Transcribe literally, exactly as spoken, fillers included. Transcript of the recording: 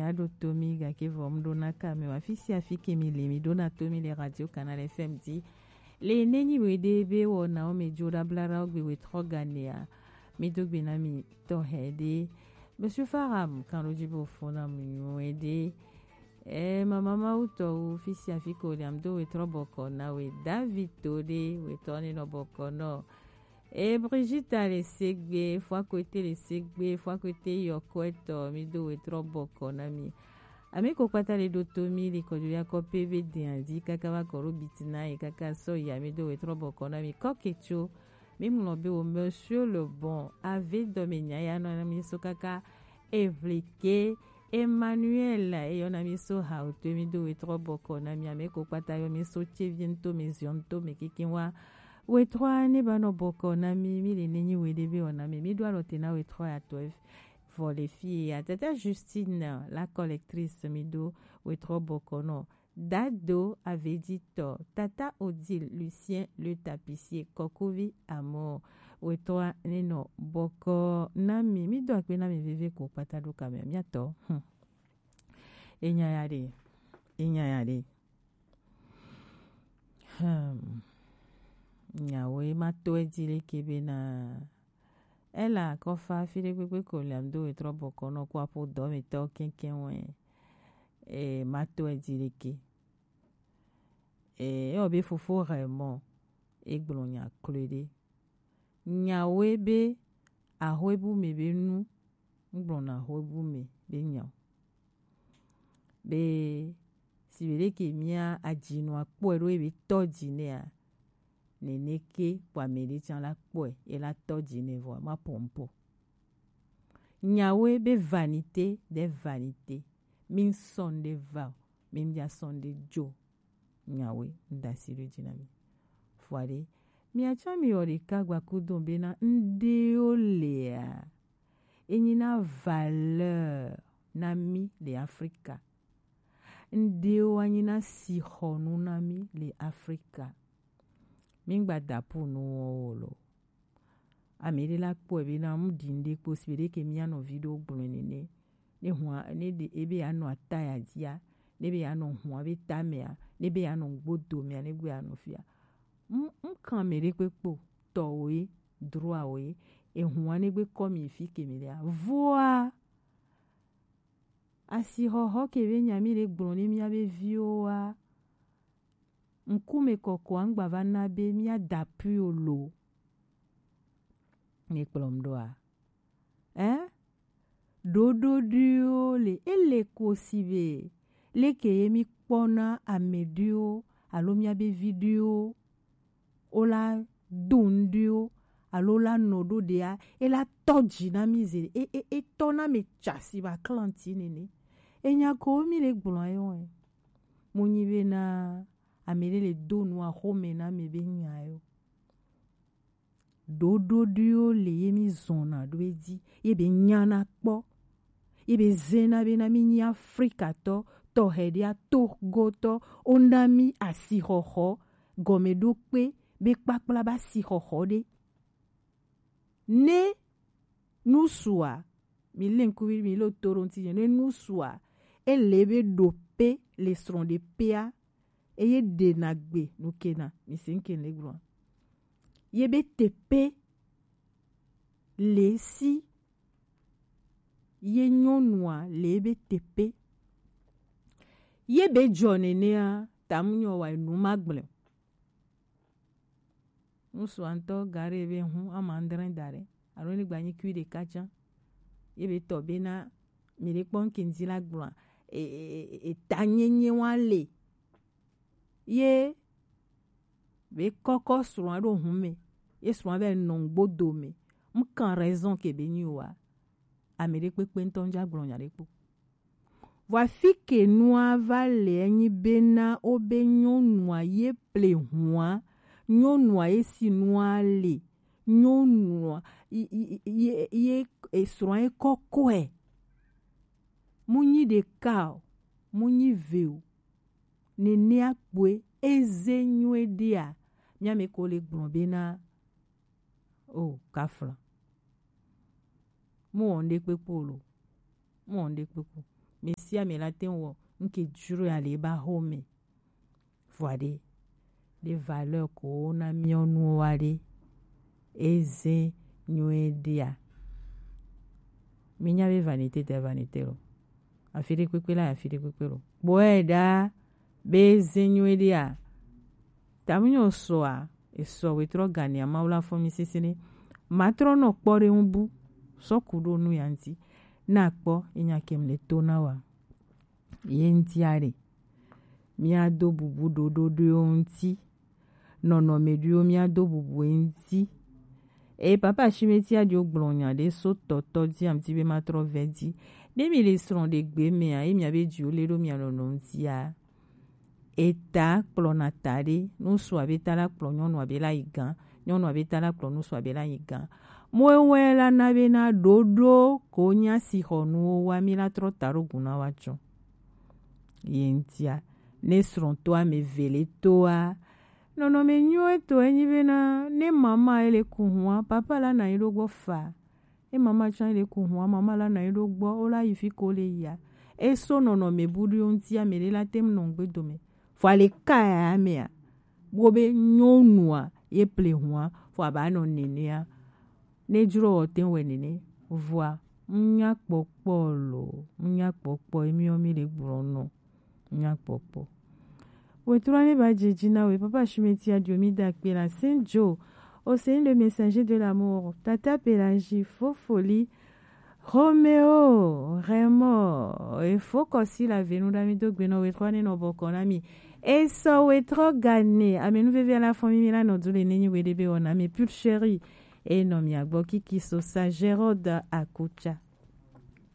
Aɖo to mi gake vɔ mu ɖo na ka mi wa fi sia fi ke mi le mi ɖo na to mi le Radio Canal F M di. Le ne nyi we ɖe be wɔ na wo me dzo ɖa bla ɖa wo gbe we trɔ gane a. Mi do gbe na mi tɔ hɛ ɖe. Monsieur Faram kan ɖo dzi bo fo na mu nyu e ɖe. E mama mawu tɔ wo fi sia fi ko le am do we trɔ bɔkɔ na we David to ɖe we tɔ ne nɔ bɔkɔ nɔ. E Brigitte le segbe, fua kote le segbe, fua kote yɔkɔetɔ, mi do we trɔ bɔkɔ na mi. Ame ko kpata le ɖo to mi le kɔjo ya kɔ pe be den azi kaka va kɔ ɖo biti na ye kaka sɔ ya mi do we trɔ bɔkɔ na mi. Kɔ ketso, mi ŋlɔ be wo Monsieur Le Bon, ave dɔ me nya ya nɔ na mi so kaka Evlike, Emmanuel, eyɔ na mi so ha o to mi do we trɔ bɔkɔ na mi. Ame ko kpata yɔ mi so tse vi nto me ziɔ nto me kiki wa. Wetrɔ ne ba nɔ bɔkɔ na mi, mi le ne nyi we ɖe be ɔ na mi, mi do alɔ te na wetrɔ ya tɔ. Vɔ le fi ya tata Justine, la collectrice, mi do wetrɔ bɔkɔ nɔ. Dado aveditɔ, tata Odile, Lucien le tapissier, kɔkuvi amɔ, wetrɔ ne nɔ bɔkɔ na mi, mi do akpe na mi veve ko kpata do kamɛ, mi atɔ. Hmm. Enya ya ɖe, enya ya ɖe. Hmm. Nyawo ye ma to edzi leke be na ela kɔfa fi ɖe kpekpe ko le am do wetrɔ bɔkɔ nɔ ko aƒo dɔ me tɔ kɛnkɛn wɛ. E ma to edzi leke. E ewɔ be fofo hɛ mɔ egblɔ nya kloe ɖe. Nyawo ye be ahɔebu me be nu ŋgblɔna ahɔebu me be nya o. Be si be ɖeke mía adzinua kpɔe ɖo ebe tɔ dzi nɛa, neneke kpɔ ame ɖe tsã la kpɔe ela tɔ dzi nɛ vɔ ma pɔmpɔ. Nyawoe be vanité des vanités, mi ŋsɔn ɖe va o, mi ŋdza sɔn ɖe dzo. Nyawoe ŋdasi ɖo dzi na mi. Fua ɖe, mia tsã mi wɔ ɖeka gbakudo bena ŋɖewo lea, enyi na valeur na mi le Afrika. Ŋɖewo anyi na sixɔnu na mi le Afrika. Mi ŋgba da pu nu wɔwɔ lo. Ame ɖe la kpɔe be na mu ɖi ŋɖe kpo si be ɖeke mia nɔvi ɖewo gblɔe nene. Ne hua ne ɖe ebe ya nɔ ataya dzia, ne be ya nɔ hua be tamea, ne be ya nɔ ŋgbodomea, ne gbe ya nɔ fia. Ŋ ŋkan ame ɖe kpekpe o, tɔwoe, droawoe, ehua ne gbe kɔ mi fi ke mi ɖea. Voa asixɔxɔ ke be nya mi ɖe gblɔ ne mia be viwo wa. Ŋkume kɔkɔa ŋgba va na be mia da pui o lo. Ne kplɔm ɖoa? Ɛ? Ɖoɖoɖuiwo le ele ko si be leke ye mi kpɔna ame ɖuiwo alo mia be vi ɖuiwo wo la do ŋɖuiwo alo la nɔ ɖo ɖea e la tɔ dzi na mi ze e e e tɔ na mi tsa si ba klanti nene. Enya ko mi le gblɔ ye wɔe. Mo nyi be na ame ɖe le do nu axome na mi be nya yo. Ɖoɖoɖuiwo le ye mi zɔna ɖo edzi ye be nyana kpɔ ye be zena be na mi nyi Afrikatɔ tɔxɛ ɖe atogotɔ wona mi asixɔxɔ gɔmeɖokpe be kpakpla ba asixɔxɔ ɖe. Ne nusua mi le ŋkuvi mi lo to ɖo ŋuti ne nusua ele be ɖo pe le srɔ̃ ɖe pea eye ɖena gbe nukena mi se ŋke le gblɔa ye be tepe le si ye nyɔnua le be tepe ye be dzɔ nenea tamu nyɔ wa nu ma gblẽ. Ŋusu ŋutɔ ga ɖe be hu ama adre da ɖe alo ne gba nyi kui ɖeka tsã ye be tɔ be na mi ɖe kpɔ ŋke ŋdi la gblɔa e, e, e, e, ta nyenye wa le ye be kɔkɔ srɔ̃a ɖo hu me ye srɔ̃a be nɔ ŋgbodo me ŋkan raison ke be nyi wa ame ɖe kpekpe ŋutɔ ŋdza gblɔ nya ɖe kpo. Vɔ afi ke nua va le enyi bena wobe nyɔnua ye ple hua, nyɔnua ye si nua le, nyɔnua ye esrɔ̃a ye kɔkɔe. Mu nyi ɖeka o, mu nyi ve o. Nenea kpoe eze nyuie ɖea, mía me ko le gblɔ bena o kafla. Mu wɔ ŋɖe kpekpe o lo. Mu wɔ ŋɖe kpekpe o. Mesia me la te ŋu wɔ ŋke jro ya le ba home. Vɔa ɖe, ɖe valeur ko na miɔ nuwo wa ɖe, eze nyuie ɖea. Mi nya be vanité de vanité lo. Afi ɖe kpekpe la, afi ɖe kpekpe lo. Kpɔe ɖa be eze nyuie ɖea. Tamunyɔ sɔa, esɔ wetrɔ gania Mawu la fɔ mi sisi ne. Matrɔ nɔ kpɔ ɖe ŋu bu, sɔ ku ɖo nu ya ŋti. Na kpɔ, enya kem le to na wa. Ye ŋtia ɖe. Míado bubu ɖoɖo ɖoewo ŋti. Nɔnɔme ɖoewo míado bubu ye ŋti. Eye papa Shimeti aɖo gblɔ nya ɖe so tɔtɔ dzi amti be matrɔ vɛ dzi. Ne mi le srɔ̃ ɖe gbe mea, ye mia be dziwo le ɖo mia nɔnɔ ŋtia. Eta kplɔna ta ɖe, ŋutsua be ta la kplɔ nyɔnua be la yi gã, nyɔnua be ta la kplɔ ŋutsua be la yi gã. Mo ewɔe la na be na ɖoɖo ko nya si xɔ nuwo wa mi la trɔ ta ɖo gu na wa tsɔ. Ye ŋtia, ne srɔ̃ to ame ve le toa, nɔnɔme nyuie to enyi bena ne mama ele ku hua, papa la na yi ɖo gbɔ fa. E mama tsã le ku hua, mama la na yi ɖo gbɔ, o la yi fi ko le yia. E so nɔnɔme buɖuiwo ŋtia, ame ɖe la te ŋu nɔ ŋgbe dome. Fo ale ka ya amea, wo be nyɔnua ye ple hua, fo aba nɔ nenea. Ne dzro wɔ te wɛ nene, vɔa ŋnya kpɔkpɔ lo, ŋnya kpɔkpɔ emi mi le gblɔ nɔ, ŋnya kpɔkpɔ. Wetrɔ ne ba dze dzi na we, papa Shimeti adio mi da kpe la Saint Joe, au Seigneur le messager de l'amour, tata Pelagie, Fofoli, Romeo, Raymond, efo kɔsi la venu da mi do gbe nɔ wetrɔ ne nɔ bɔkɔ na mi. Esɔ wetrɔ gane, amenu veve la fɔ mi mi la nɔ du le nenyi we de be wɔna mi pure chérie. E nɔ mia gbɔ kiki so sa Gérald Akucha.